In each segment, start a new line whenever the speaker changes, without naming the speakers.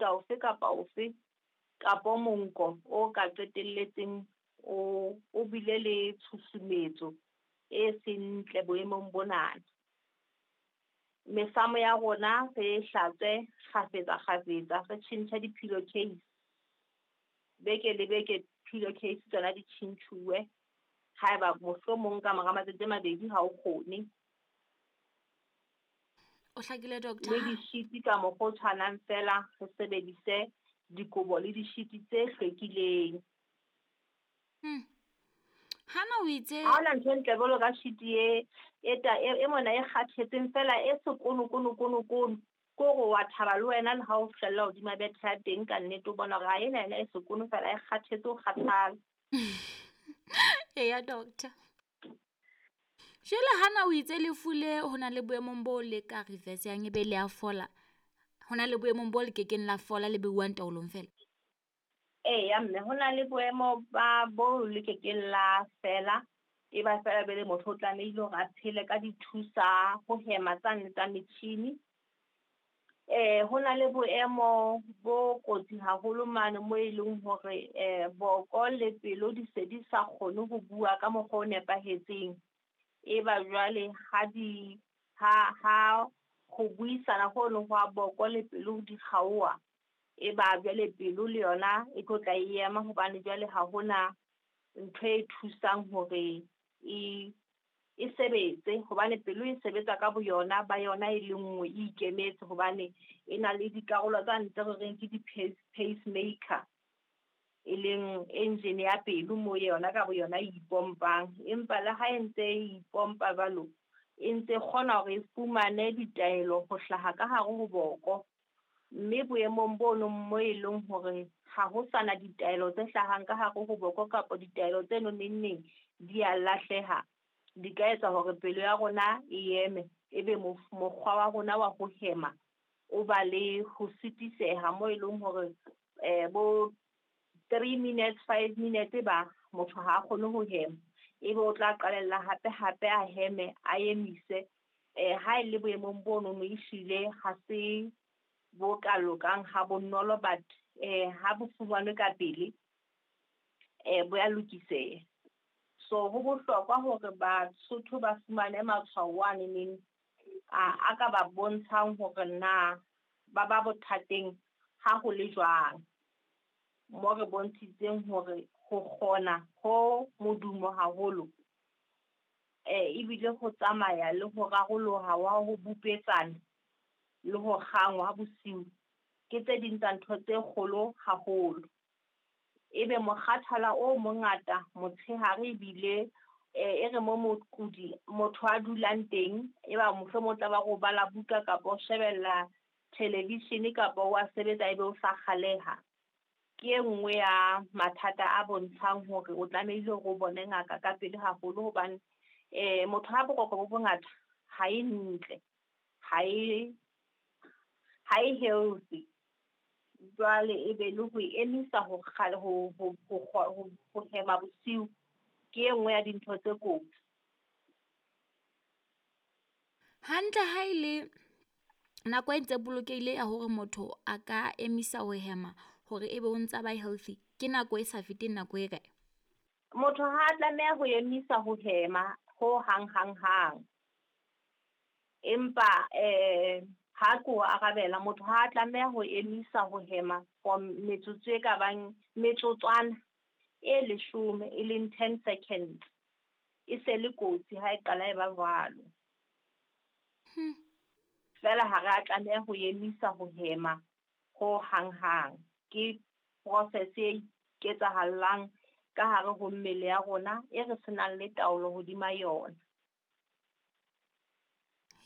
mofuta ofe kapa ofe kapo monko o ka qetelletseng o bile le tshusumetso e seng ntle boemong bonana. Mesamo ya rona re e hlatswe kgafetsa kgafetsa, re tjhentjhe di-pillowcase. Beke le beke pillowcase tsona di tjhentjhuwe haeba mohlomong ka mora matsatsi a 2 ha o kgone.
O hlakile doctor.
Le dishiti ka mokgwa o tshwanang fela, re sebedise dikobo le dishiti tse hlwekileng.
Hana o itse
ha hona ntho e ntle jwalo ka shiti e mona e kgathetseng fela e sekono kono kono kono. Ke hore wa thaba le wena le ha o hlella hodima bethe ya teng ka nnete o bona hore ha ena yona e sekono fela e kgathetse o kgathala.
Eya doctor. Jwale hana o itse lefu le ho na le boemong bo le ka reverse yang ebe le a fola. Ho na le boemong bo le kekeng la fola le beuwang taolong fela.
Eya mme ho na le boemo ba bo le kekeng la fela. E ba fela be le motho o tlamehile hore a phele ka dithusa ho hema tsane tsa metjhini. Ho na le boemo bo kotsi haholo mane mo e leng hore boko le pelo di se di sa kgone ho bua ka mokgwa o nepahetseng. E ba jwale ha ho buisana ho no hwa boko le pelo di kgaoha, e ba jwale pelo le yona e tlo tla e ema hobane jwale ha hona ntho e thusang hore e sebetse, hobane pelo e sebetsa ka boyona ba yona e le nngwe e ikemetse hobane e na le dikarolo tsa ntle re reng ke di-pacemaker, e leng engine ya pelo mo yona ka boyona e ipompang. Empa le ha e ntse e ipompa jwalo, e ntse kgona hore e fumane ditaelo ho hlaha ka hare ho boko. Mme boemong bono mo e leng hore ha ho sana ditaelo tse hlahang ka hare ho boko kapa ditaelo tse neng neng di a lahleha, di ka etsa hore pelo ya rona e eme, ebe mokgwa wa rona wa ho hema o ba le ho sitiseha mo e leng hore bo 3 minutes 5 minutes ba motho ha a kgone ho hema, ebe o tla qalella hape hape a heme a emise. Ha e le boemong bono no ehlile ha se bo ka lokang ha bonolo, but ha bo fumanwe ka pele bo ya lokiseha. So ho bohlokwa hore Basotho ba fumane matshwao a neneng a ka ba bontshang hore na ba ba bothateng ha ho le jwang. Mo re bontshitseng hore ho kgona ho modumo haholo ebile ho tsamaya le ho raroloha wa ho bupetsana le ho kgangwa bosiu ke tse ding tsa ntho tse kgolo haholo. Ebe mokgathala o mongata motshehare ebile e re mo mokudi motho a dulang teng, e ba mohlomong o tla ba ro bala buka kapa o shebella television kapa wa sebetsa ebe o sa kgaleha. Ke e nngwe ya mathata a bontshang hore o tlamehile hore o bone ngaka ka pele haholo hobane motho ha boroko bo bongata ha e ntle, ha e healthy. Jwale e be le ho emisa ho hema bosiu ke e nngwe ya dintho tse kotsi.
Hantle ha e le nako e ntse bolokehile ya hore motho a ka emisa ho hema hore ebe o ntsa ba healthy, ke nako e sa feteng nako e kae?
Motho ha a tlameha ho emisa ho hema ho hang hang hang. Empa ha ko arabela, motho ha a tlameha ho emisa ho hema for metsotso e ka bang metsotswana e 10 e leng 10 seconds. E se le kotsi ha e qala e ba jwalo. Fela ha re a tlameha ho emisa ho hema ho hang hang. Ke process e ketsahallang ka hare ho mmele ya rona e re senang le taolo hodima yona.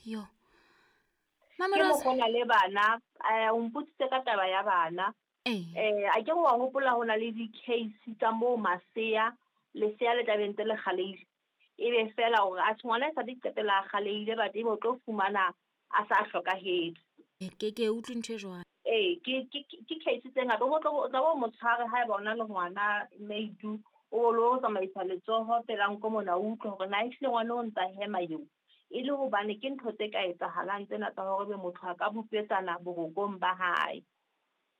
Yo.
Ke mokgona le bana, o mpotsitse ka taba ya bana. A ke wa hopola ho na le di-case tsa moo masea, lesea le tla be ntse le kgaleile. Ebe fela hore a ngwana e sa di qetela a kgaleile, but ebe o tlo fumana a sa hlokahetse.
Ke utlwe ntho e jwalo.
Ke case tse ngata. O tla bo motshware haeba o na le ngwana meitu, o lo tsamaisa letsoho pela nko mona, o utlwe hore na ehlile ngwana o ntsa hema eo. E le hobane ke ntho tse ka etsahalang tsena tsa hore ebe motho a ka bupetsana borokong ba hae.